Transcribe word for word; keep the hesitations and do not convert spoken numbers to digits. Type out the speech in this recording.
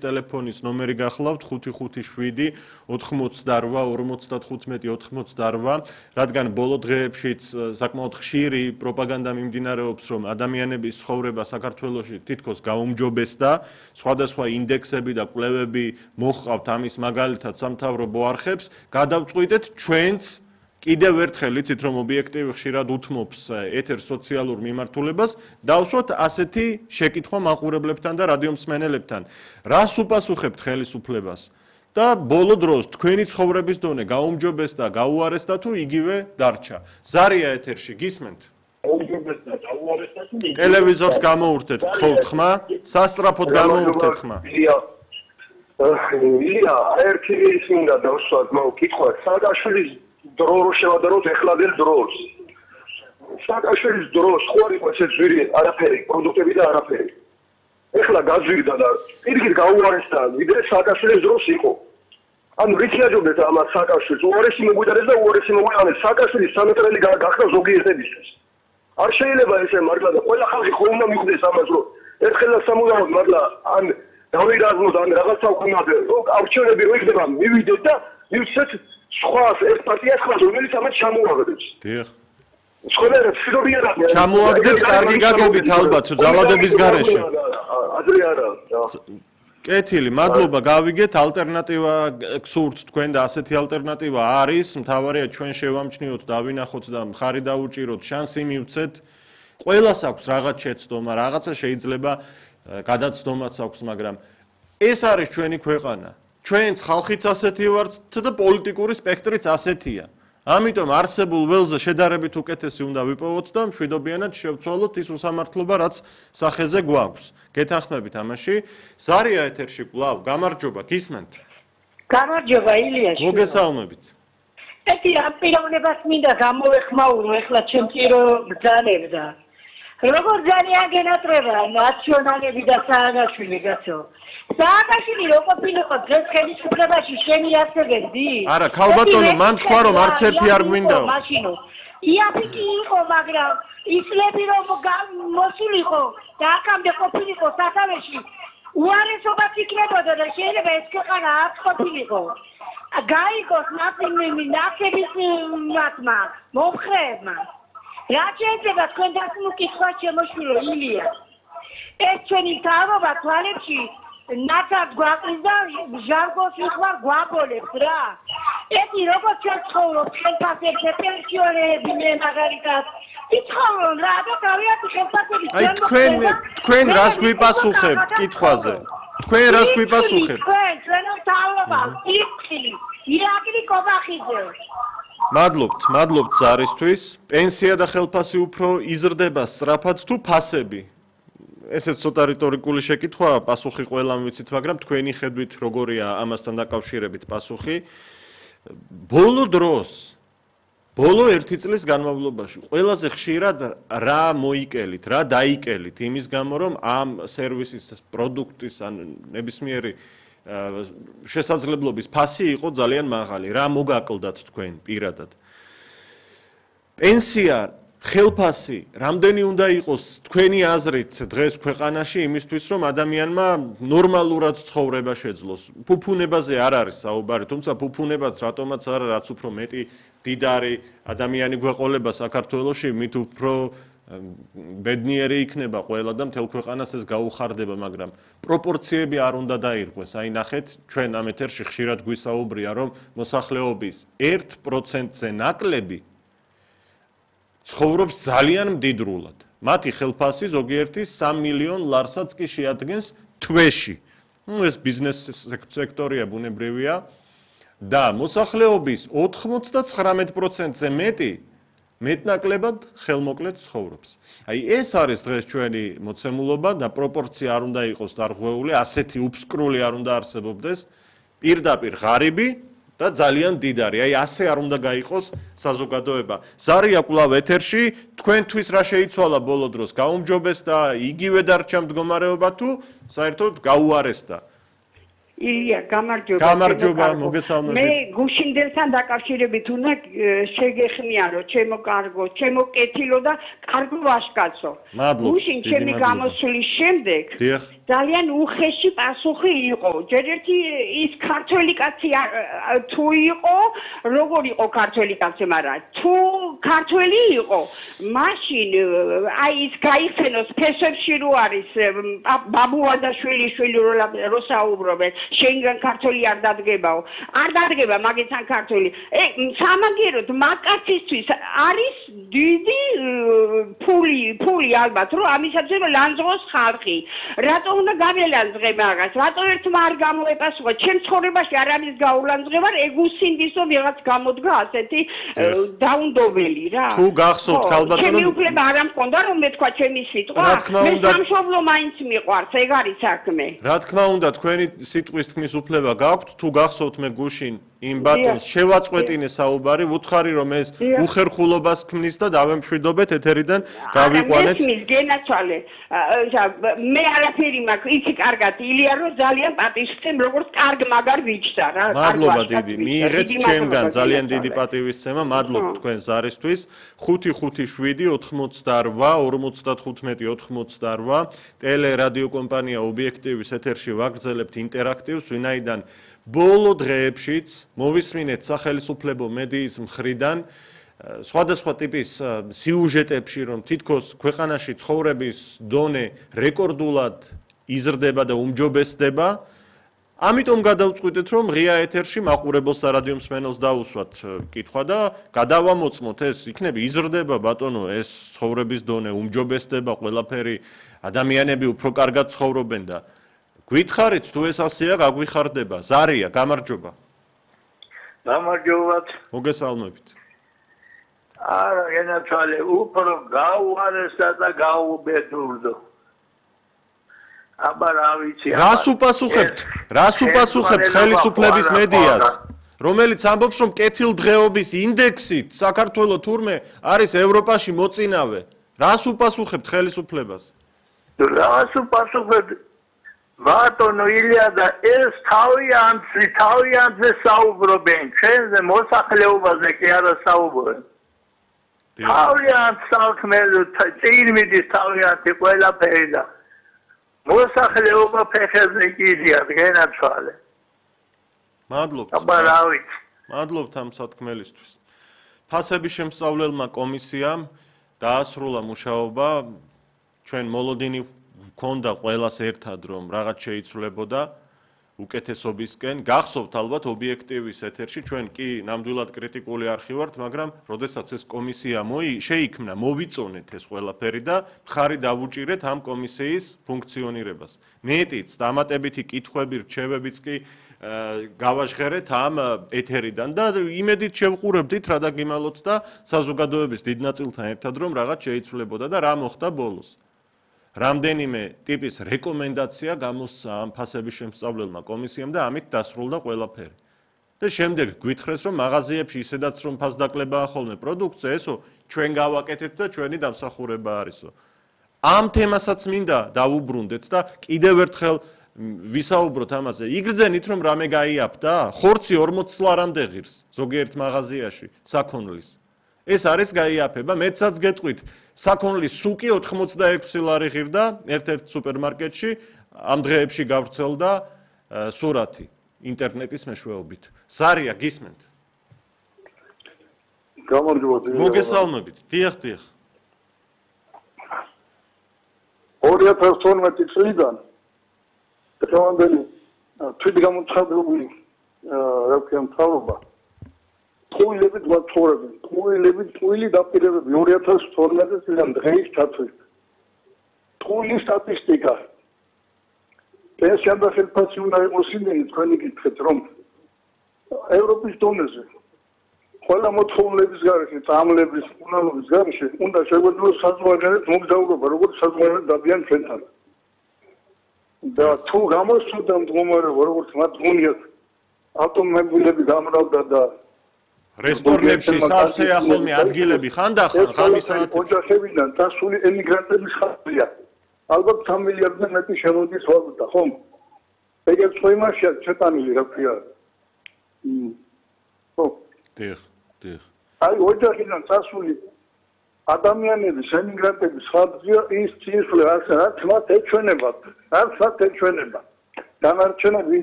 ტელეფონის ნომერი გახლავთ ხუთი ხუთი შვიდი ოთხმოცდაორვა ორმოცდათხუთმეტი ოთხმოცდაორვა, რადგან ბოლო დღეებშიც საკმაოდ ხშირი პროპაგანდა მიმდინარეობს, რომ ადამიანების ცხოვრება საქართველოში თითქოს გაუმჯობესდა, სხვადასხვა ინდექსები და კვლევები მოჰყავთ ამის მაგალითად სამთავრობო არხებს, გადავწყვიტეთ ჩვენც კიდევ ერთხელ იცით რომ ობიექტივი ხშირად უთმობს ეთერ სოციალურ მიმართულებას, დავსვათ ასეთი შეკითხვა მაყურებლებთან და რადიო მსმენელებთან. რას უპასუხებთ ხელისუფლებას? და ბოლო დროს თქვენი ცხოვრების დონე გაუმჯობესდა, გაუარესდა თუ იგივე დარჩა. ზარია ეთერში გისმენთ? გაუმჯობესდა, გაუარესდა თუ იგივე. ტელევიზორს გამოურთეთ, გთხოვთ ხმა? სასწრაფოდ გამოურთეთ ხმა? ილია, ერთი ის მინდა დავსვათ, მაგ კითხვა, სააკაშვილის დრო რო შევადაროთ ეხლადელ დროს. სააკაშვილის დროს ხო არ იყო ესე ძვირი არაფერი, პროდუქტები და არაფერი. ეხლა გაძვირდა და პირიქით გაუარესდა, ვიდრე სააკაშვილის დროს იყო. ანუ რითი აჯობდეთ ამას სააკაშვილს? უარესი მოგვიტანეს და უარესი მოგვიტანეს. სააკაშვილის სამეტრელი გახდა ზოგიერთებისთვის. არ შეიძლება ესე მართლა და ყველა ხალხი ხო უნდა მიხვდეს ამას, რომ ერთხელ სამუდამოდ მართლა ან დავირაზმოთ ან რაღაცა ვქნათ, რომ არჩევნები რო იქნება, მივიდეთ და მივცეთ სხვას ერთ პარტიას ხმას, რომელიც ამას ჩამოაგდებს. დიახ. სხვადასხვა სიდობიერად ჩამოაგდებს კარგი გაგებით ალბათ ძალადობის გარეშე. ადრე არა. კეთილი, მადლობა, გავიგეთ, ალტერნატივა გსურთ თქვენ და ასეთი ალტერნატივა არის, მთავარია ჩვენ შევამჩნიოთ, დავინახოთ და მხარი დაუჭიროთ, შანსი მივცეთ. ყველას აქვს რაღაც შეცდომა, რაღაცა შეიძლება გადაცდომაც აქვს, მაგრამ ეს არის ჩვენი ქვეყანა. ჩვენც ხალხიც ასეთი ვართ და პოლიტიკური სპექტრიც ასეთია. ამიტომ არსებულ ველზე შედარებით უკეთესი უნდა ვიპოვოთ და მშვიდობიანად შევცვალოთ ის უსამართლობა, რაც სახეზე გვაქვს. გეთანხმებით ამაში. ზარია ეთერში კვლავ, გამარჯობა, გისმენთ? გამარჯობა, ილია. მოგესალმებით. ეთი ამ პიროვნებას მინდა გამოვეხმაურო ეხლა ჩემთირო ბრძანებს და როგორ ძალიან გენატრება ნაციონალები და სააკაშვილი გასო. სააკაშვილი რო ყოფილიყო დღეს ხელისუფლებაში შენი ასეგებდი? არა, ქალბატონო, მან თქვა რომ არც ერთი არ გვინდაო. მაშინო. იაფიკი იყო, მაგრამ ისლები რომ მოსულიყო და აქამდე ყოფილიყო სათავეში, უარესობაც იქნებოდა და შეიძლება ეს ქვეყანა არც ყოფილიყო. გაიგოს ნაცების მათმა, მომხრეებმა. რა შეიძლება თქვენ დასმუკითხვა შემოშვილო ილია? ეს ჩვენი მთავრობა თვალებში ნაცად გვაყრის და ჟანგოს ვიხმარ გვაბოლებს რა. ეთი როგორც ჩვენ ცხოვრობ ხელფასებზე პენსიონერები მე მაგალითად იცხოვრონ რა და გავიარეთ ხელფასები. აი თქვენ თქვენ რას გვიპასუხებთ კითხვაზე? თქვენ რას გვიპასუხებთ? თქვენ ჩვენ მთავრობა იქი ირაკლი კობახიძე. მადლობთ, მადლობთ ზარისთვის. პენსია და ხელფასი უფრო იზრდება სწრაფად თუ ფასები? ესეც ცოტა რიტორიკული შეკითხვაა, პასუხი ყველამ ვიცით, მაგრამ თქვენი ხედვით როგორია ამასთან დაკავშირებით პასუხი? ბოლო დროს, ბოლო ერთი წლის განმავლობაში ყველაზე ხშირად რა მოიკელით, რა დაიკელით იმის გამო, რომ ამ სერვისის პროდუქტის ან ნებისმიერი შესაძლებლობის ფასი იყო ძალიან მაღალი. რა მოგაკლდათ თქვენ პირადად? პენსია, ხელფასი, რამდენი უნდა იყოს თქვენი აზრით დღეს ქვეყანაში იმისთვის, რომ ადამიანმა ნორმალურად ცხოვრება შეძლოს? ფუფუნებაზე არ არის საუბარი, თუმცა ფუფუნებაც რატომაც არა, რაც უფრო მეტი მდიდარი ადამიანი გვეყოლება საქართველოში, მით უფრო ბედნიერი იქნება ყველა და მთელ ქვეყანას ეს გაუხარდება, მაგრამ პროპორციები არ უნდა დაირღვეს. აი ნახეთ, ჩვენ ამ ეთერში ხშირად გვისაუბრია, რომ მოსახლეობის ერთ პროცენტზე ნაკლები ცხოვრობს ძალიან მდიდრულად. მათი ხელფასი ზოგიერთი სამ მილიონ ლარსაც კი შეადგენს თვეში. ნუ ეს ბიზნეს სექტორია, ბუნებრივია და მოსახლეობის ოცდათხმეტ პროცენტზე მეტი მეტნაკლებად ხელმოკლედ ცხოვრობს. აი ეს არის დღეს ჩვენი მოცემულობა და პროპორცია არ უნდა იყოს დარღვეული, ასეთი უფსკრული არ უნდა არსებობდეს, პირდაპირ ღარიბი და ძალიან დიდარი. აი ასე არ უნდა გაიყოს საზოგადოება. ზარია კვლავ ეთერში, თქვენთვის რა შეიცვალა ბოლო დროს? გაუმჯობესდა, იგივე დარჩა მდგომარეობა თუ საერთოდ გაუარესდა? ილია, გამარჯობა. გამარჯობა, მოგესალმებით. მე გუშინდელთან დაკავშირებით უნდა შეგეხმიანო, ჩემო კარგო, ჩემო კეთილო და კარგო ვაჟკაცო. გუშინ ჩემი გამოსვლის შემდეგ ძალიან უხეში პასუხი იყო. ჯერ ერთი ის ქართველი კაცი თუ იყო, როგორ იყო ქართველი კაცი, მაგრამ თუ ქართველი იყო, მაშინ აი ის გაიხსენოს ფესებში რო არის ბაბუაძაშვილი შვილი რო საუბრობენ, შენგან ქართველი არ დადგებაო. არ დადგება მაგეთან ქართველი. ე სამაგეროდ მაკაცისთვის არის დიდი ფული, ფული ალბათ, რომ ამისათვის ლანძღოს ხალხი. რატო უნდა გამელანძღე მაგას? რატო ერთმა არ გამოეპასუხა? ჩემ ცხოვრებაში არ არის გაულანძღება, ეგუსინდის რომ ვიღაც გამოდგა ასეთი დაუნდობელი რა. თუ გახსოვთ ალბათ რომ ჩემი უფლება არ ამქონდა რომ მეთქვა ჩემი სიტყვა. მე სამშობლო მაინც მიყვარს, ეგ არის საქმე. რა თქმა უნდა, თქვენი სიტყვის თქმის უფლება გაქვთ, თუ გახსოვთ მე გუშინ იმ ბატონს შევაწყვეტინე საუბარი, ვუთხარი რომ ეს უხერხულობას ქმნის და დავემშვიდობეთ ეთერიდან გავიყვანეთ. მის გენაცვალე. მე არაფერი მაქვს, იცი კარგად, ილია რომ ძალიან პატივისცემ, როგორც კარგ მაგარ ვიჩსა რა. მადლობა დიდი, მიიღეთ ჩემგან ძალიან დიდი პატივისცემა, მადლობ თქვენ ზარისთვის. ხუთი ხუთი შვიდი ოთხმოცდაორვა ორმოცდახუთმეტი ოთხმოცდაორვა ტელე რადიო კომპანია ობიექტივის ეთერში ვაგრძელებთ ინტერაქტივს, ვინაიდან ბოლო დღეებშიც მოვისმინეთ სახელმწიფო მედიის მხრიდან სხვადასხვა ტიპის სიუჟეტებში, რომ თითქოს ქვეყანაში ცხოვრების დონე რეკორდულად იზრდება და უმჯობესდება. ამიტომ გადავწყვიტეთ, რომ ღია ეთერში მაყურებელს და რადიო მსმენელს დავუსვათ კითხვა და გადავამოწმოთ ეს, იქნები იზრდება ბატონო ეს ცხოვრების დონე, უმჯობესდება ყველაფერი, ადამიანები უფრო კარგად ცხოვრობენ და გითხარით თუ ეს ასეა გაგვიხარდება. ზარია, გამარჯობა. გამარჯობა. მოგესალმებით. არა, ენაცვალე, უფრო გაუარესდა და გაუბედურდო. აბა რა ვიცი. რას უპასუხებთ? რას უპასუხებთ ხელისუფლების მედიას? რომელიც ამბობს, რომ კეთილდღეობის ინდექსით საქართველო თურმე არის ევროპაში მოწინავე. რას უპასუხებთ ხელისუფლებას? რას უპასუხებთ? ბატონო ილია და ეს თავიანთი თავიანთი საუბრობენ, ჩვენზე მოსახლეობაზე კი არა საუბრობენ. თავიანთ საქმეზე წირმიდის თავიანთი ყველაფერი და მოსახლეობა ფეხებზე კიდია გენაცვალე. მადლობთ. აბა რა ვიცი. მადლობთ ამ სათქმელისთვის. ფასების შემსწავლელმა კომისიამ დაასრულა მუშაობა, ჩვენ მოლოდინი გქონდა ყველას ერთად რომ რაღაც შეიცვლებოდა უკეთესობისკენ. გახსოვთ ალბათ ობიექტივის ეთერში ჩვენ კი ნამდვილად კრიტიკული არხი ვართ, მაგრამ როდესაც ეს კომისია შეიქმნა, მოვიწონეთ ეს ყველაფერი და მხარი დავუჭირეთ ამ კომისიის ფუნქციონირებას. მეტიც დამატებითი კითხვები, რჩევებიც კი გავაჟღერეთ ამ ეთერიდან და იმედით შევყურებდით რა დაგიმალოთ და საზოგადოების დიდ ნაწილთან ერთად რომ რაღაც შეიცვლებოდა და რა მოხდა ბოლოს. რამდენიმე ტიპის რეკომენდაცია გამოსცა ამ ფასების შემსწავლელმა კომისიამ და ამით დასრულდა ყველაფერი. და შემდეგ გვითხრეს რომ მაღაზიებში ისედაც რომ ფასდაკლებაა ხოლმე პროდუქცია, ესო ჩვენ გავაკეთეთ და ჩვენი დამსახურება არისო. ამ თემასაც მინდა დავუბრუნდეთ და კიდევ ერთხელ ვისაუბროთ ამაზე. იგრძენით რომ რამე გაიაფდა, ხორცი ორმოც ლარამდე ღირს ზოგიერთ მაღაზიაში საქონლის. ეს არის გაიაფება, მეცაც გეტყვით, საქონლის სუკი ოთხმოცდაექვსი ლარი ღირდა ერთ-ერთ სუპერმარკეტში, ამ დღეებში გავრცელდა სურათი ინტერნეტის მეშვეობით. ზარია, გისმენთ? გამარჯობა. მოგესალმებით. დიახ, დიახ. ორი ათას თორმეტი წლიდან დღევანდელი თვითგამოცხადებული რა ვქია მთავრობა ტყუილებით ვაცხოვრებენ, ტყუილებით ტყუილი დაპირებები ორი ათას თორმეტი წლიდან დღეის ჩათვლით. ტყუილის სტატისტიკა. პენსია და ხელფასი უნდა იყოს იმენი, თქვენი გითხრეთ, რომ ევროპის დონეზე ყველა მოთხოვნილების გარეშე, წამლების, უნალობის გარეშე უნდა შეგვეძლოს საზღვარგარეთ მოგზაურობა, როგორც საზღვარგარეთ დადიან ჩვენთან. და თუ გამოსწოდა მდგომარეობა, როგორც მათ გონიათ ავტომობილები გამრავდა და რესტორნებში სავსეა ხოლმე ადგილები ხანდახან ღამის საათებში ოჯახებიდან დასული ემიგრანტების ხალხია. ალბათ სამ მილიარდზე მეტი შემოდის ვალუტა, ხომ? ეგეც ხო იმაშია ჩეტანილი რა ქვია. ხო. დიახ, დიახ. აი ოჯახიდან წასული ადამიანების ემიგრანტების ხალხია ის ცისვლე ასე რაც მათ ეჩვენება, რაც მათ ეჩვენება. დანარჩენები